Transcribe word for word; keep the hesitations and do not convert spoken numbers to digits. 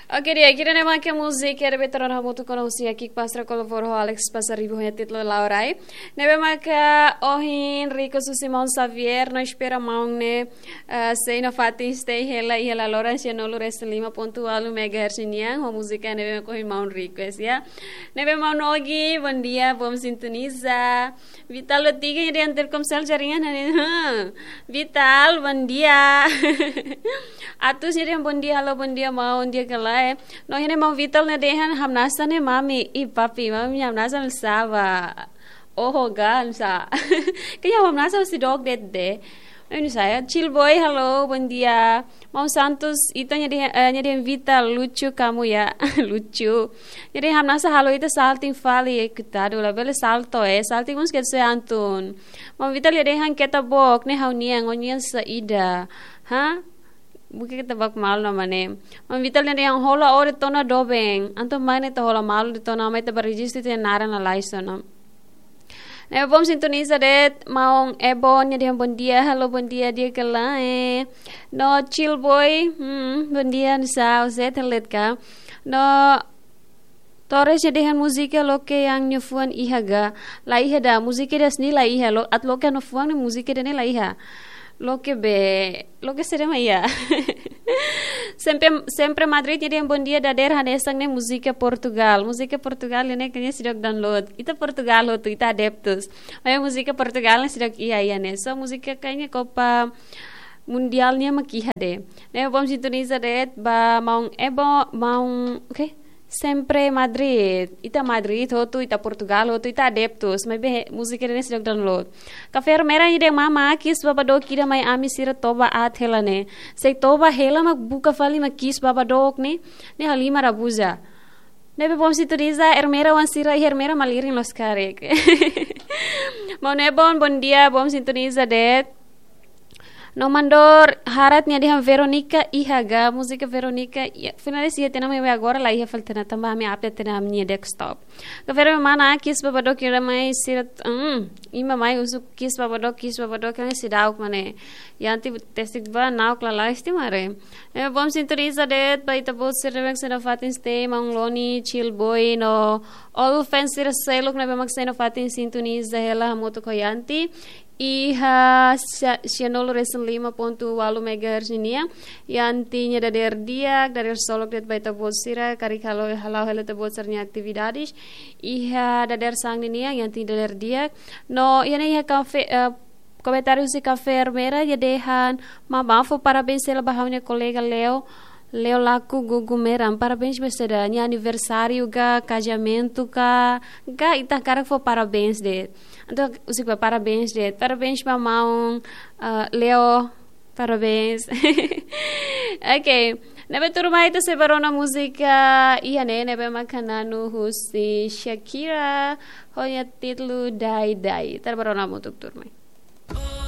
Oke, di'ak, ida-ne'e mak múzika ne'ebé ita rona hamutuk ona husi Akik Pastra kolaboradu ho Alex Pasaribu ho títulu Laurai. Ne'ebé maka ohin request husi maun Xavier, no espera maun ne'e, eh, sei nafatin stay hela iha laloran sianulu resin lima pontu ualu megahertz nian, ho múzika ne'ebé maka ohin maun request, ya. Ne'ebé maun Ogi, bondia, bom sintoniza. Vital Letiga nia dehan Telkomsel jaringan ne'e. Vital, bondia. Atus nia dehan bondia, halo, bondia, maun, di'ak ka lae. No iha ne'e maun Vital nia dehan hamnasa ne'e mami, i papi, mami hamnasa sá ba. Oho, gan sa. Kanya hamnasa si dog det de. Ini saya, Chill Boy, halo, bondia. Maun Santos, ita nia dehan, eh, nia dehan Vital, lucu kamu ya. Lucu. Nia dehan hamnasa halo ita salting fali, eh, coitadu, labele salto, eh. Salting mós ke se antun. Maun Vital nia dehan keta book, ne'e ha'u-nian, ha'u-nian saida. Ha? Buka keta book malu no mane. Maun Vital nia dehan hola ó de'it ona doben. Antun mai ne'e ita hola malu de'it ona, mai ita bá rejistu ita-nia naran lalais ona. Ne'ebé bom sintoniza de'it, maun Ebon nia dehan bondia, halo, bondia, di'ak ka lae. No Chill Boy, hmm, bondia, nusá, Zé telet ka. No Torres nia dehan múzika loke yang nia fuan iha ga. La iha ida, múzika ida-ne'e la iha, lo, atu loke nia fuan ne'e múzika ida-ne'e la iha. Loke be, loke sede ma iha. Sempre, Sempre Madrid nia dehan bondia dader hanesan ne'e múzika Portugal. Múzika Portugal ne'e kanya seidauk download. Ita Portugal hotu, ita adeptus. Maibé múzika Portugal ne'e seidauk iha, iha ne'e. So múzika kanya Copa Mundial nian mak iha de'it. Ne'ebé bom sintoniza de'it ba maun Ebon, maun, oke? Sempre Madrid. Ita Madrid hotu, ita Portugal hotu, ita adeptus. Maibé múzika ne'e seidauk download. Kafé Ermera nia dehan mama, kiss baba dook ida mai ami sira toba aat hela ne'e. Se toba hela mak buka fali mak kiss baba dook ne'e, ne'e halimar abuza. Ne'ebé bom sintoniza, Ermera oan sira, Ermera malirin loos karik. Maun Ebon, bondia, bom sintoniza de'it. No mandor harat nia dehan Veronica iha ga, múzika Veronica, ya, finalis iha tiha ona maibé agora la iha fali tiha ona tanba ami update tiha ona ami-nia desktop. Kafé Ermera mana, kiss baba dook ida mai sira, hmm, imi mai husu kiss baba dook, kiss baba dook, kan seidauk mane. Yanti tesik ba, na'ok lalais tiha mare. Ne'ebé bom sintoniza de'it ba ita-boot sira ne'ebé mak sei nafatin stay, maun Loni, Chill Boy, no all fans sira seluk ne'ebé mak sei nafatin sintoniza hela hamutuk ho Yanti. Iha sia-, sianulu resin lima pontu ualu megahertz nian. Yanti nia dadeer di'ak, dadeer solok de'it ba ita-boot sira, karik halo, hala'o hela ita-boot sira-nia atividades. Iha dadeer sang nian, Yanti dadeer di'ak. No, iha ne'e iha kafé, eh, komentáriu husi Kafé Ermera, nia dehan, mama fó parabéns hela ba ha'u-nia kolega Leo, Leo Laku Gugu Meram. Parabéns ba saida, nia aniversáriu ka, kazamentu ka, ka ita hakarak fó parabéns de'it. Entaun, husik ba parabéns de'it. Parabéns ba maun, ah, Leo, parabéns. Oke, ne'ebé tuirmai ita sei bá rona múzika iha ne'e, ne'ebé maka Nanu husi Shakira, ho nia títulu Dai Dai. Ita bá rona hamutuk tuirmai.